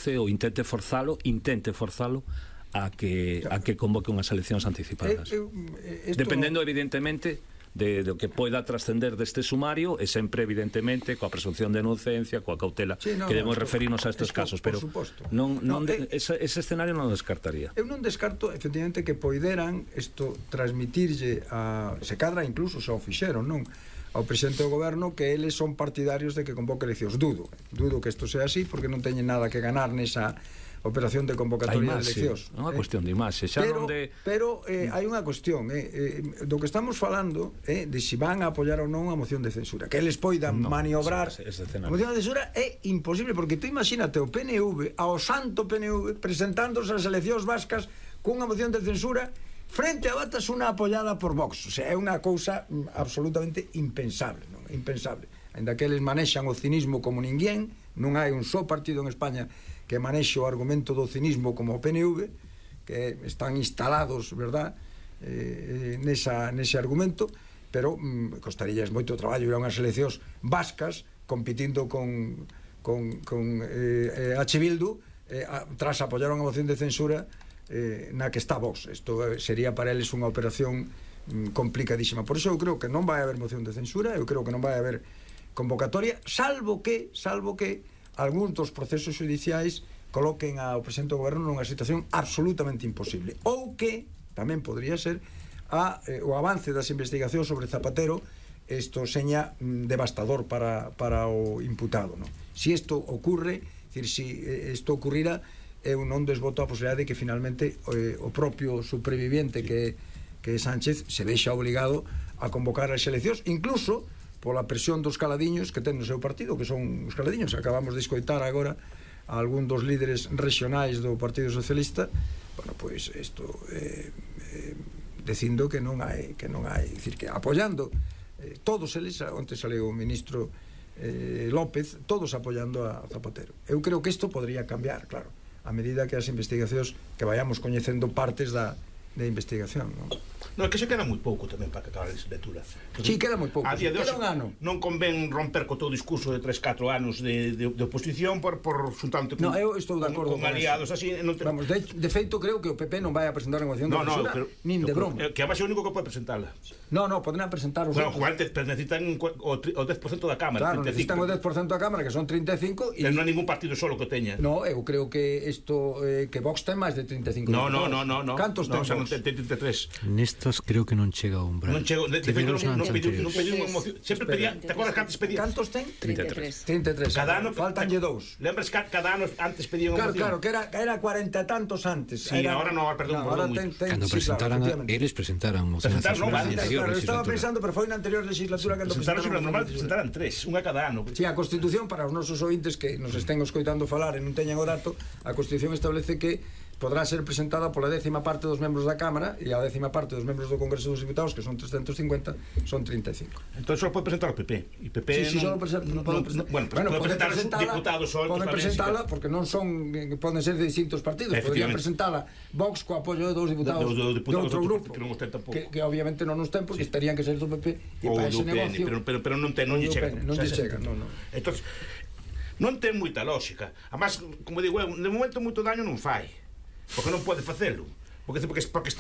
ou intente forzalo a que convoque unhas eleccións anticipadas. Dependendo, evidentemente, do que poida trascender deste sumario, e sempre, evidentemente, coa presunción de inocencia, coa cautela que debemos referirnos a estes casos, pero ese escenario non o descartaría. Eu non descarto, efectivamente, que poideran isto transmitirlle se cadra incluso xa o fixeron, non? Ao presidente do goberno, que eles son partidarios de que convoque eleccións. Dudo que isto sea así, porque non teñen nada que ganar nesa operación de convocatoria de eleccións. É unha cuestión de imaxe. Pero hai unha cuestión do que estamos falando, de se van a apoiar ou non a moción de censura, que eles poidan maniobrar. A moción de censura é imposible, porque tú imagínate o PNV, ao santo PNV, presentándose as eleccións vascas cunha moción de censura frente a Batasuna apoiada por Vox. O sea, é unha cousa absolutamente impensable, non? Impensable. Ainda que eles manexan o cinismo como ninguén, non hai un só partido en España que manexe o argumento do cinismo como o PNV, que están instalados, verdad, nese argumento, pero costarías moito traballo ir a unhas eleccións vascas competindo con H. Bildu tras apoiar unha moción de censura na que está Vox. Isto sería para eles unha operación complicadísima. Por iso eu creo que non vai haber moción de censura, eu creo que non vai haber convocatoria, salvo que algúns dos procesos judiciais coloquen ao presidente do goberno nunha situación absolutamente imposible, ou que tamén podría ser o avance das investigacións sobre Zapatero isto seña devastador para o imputado, non? Si isto ocurre, si isto ocurrira, eu non desboto a posibilidade de que finalmente o propio superviviente que é Sánchez se vexa obligado a convocar as eleccións, incluso pola presión dos caladiños que ten no seu partido, que son os caladiños. Acabamos de escoitar agora a algún dos líderes regionais do Partido Socialista, bueno, pois isto dicindo que non hai, dicir, que apoiando todos eles, onte saleu o ministro López, todos apoiando a Zapatero. Eu creo que isto podría cambiar, claro, a medida que as investigacións, que vayamos coñecendo partes da investigación, non? Non, é que se queda moi pouco tamén para que acabe a legislatura. Si, queda moi pouco. Queda un ano. Non convén romper co todo o discurso de 3-4 anos de oposición por xuntante con aliados así. Vamos, de feito, creo que o PP non vai a presentar a moción de censura, nin de broma. Que a base o único que pode presentala. Non, poden presentar os outros. Pero necesitan o 10% da Cámara. Claro, necesitan o 10% da Cámara, que son 35. Pero non hai ningún partido solo que teña. Non, eu creo que isto, que Vox ten máis de 35. Non. Cantos ten Vox? Ten 33. Nestas creo que non chega o umbral. Non chega, de feito non pediu unha moción. Sempre pedía, te acordas que antes pedía? Cantos ten? 33. Cada ano faltanlle dous. Lembras que cada ano antes pedía unha moción? Claro, que era 40 e tantos antes. Sí, agora non, perdón, cando presentaran, eles presentaran moción. Claro, estaba pensando, pero foi na anterior legislatura cando presentaron normal, presentaran 3, unha cada ano. Si, a Constitución, para os nosos ointes que nos estén escoitando falar e non teñan o dato, a Constitución establece que podrá ser presentada pola 10ª parte dos membros da Cámara, e a 10ª parte dos membros do Congreso dos Diputados, que son 350, son 35. Entón só pode presentar o PP. E PP só pode presentar os diputados soltos. Pode presentala, porque non son, poden ser de distintos partidos. Podrían presentala Vox co apoio de dous diputados de outro grupo, que obviamente non nos ten, porque estarían que ser do PP e para ese negocio. Pero non lle chega. Entón, non ten moita lógica. Además, como digo, de momento moito daño non fai, porque non pode facelo, porque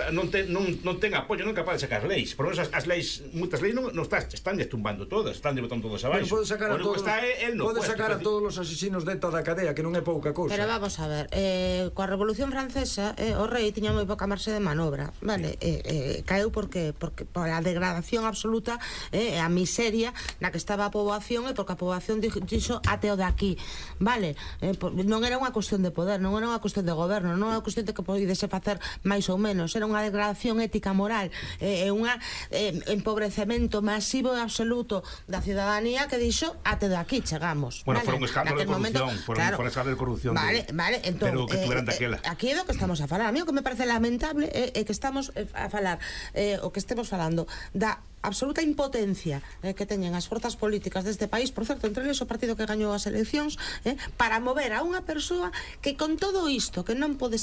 non ten apoio, non é capaz de sacar leis. Por menos as leis, moitas leis non están destumbando todas, están botando todas abaixo. Pode sacar a todos os asesinos de toda a cadea, que non é pouca cousa. Pero vamos a ver, coa Revolución Francesa o rei tiña moi pouca marxe de manobra, vale? Caeu porque pola degradación absoluta, a miseria na que estaba a poboación, e porque a poboación dixo até o de aquí, vale? Non era unha cuestión de poder, non era unha cuestión de goberno, non era unha cuestión de que podese facer máis ou menos, era unha degradación ética moral, un empobrecemento masivo e absoluto da ciudadanía, que dixo até de aquí chegamos. Bueno, foi un escándalo de corrupción, foi un escándalo de corrupción, entón, pero que tuveran daquela. Aquí é do que estamos a falar. A mí o que me parece lamentable é que estamos a falar, o que estemos falando da absoluta impotencia que teñen as forzas políticas deste país, por certo, entre eles o partido que gañou as eleccións, para mover a unha persoa que con todo isto, que non pode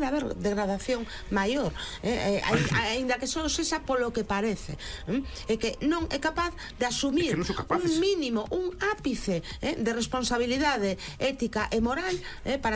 haber degradación maior, aínda que só sexa polo que parece, é que non é capaz de asumir un mínimo, un ápice de responsabilidade ética e moral para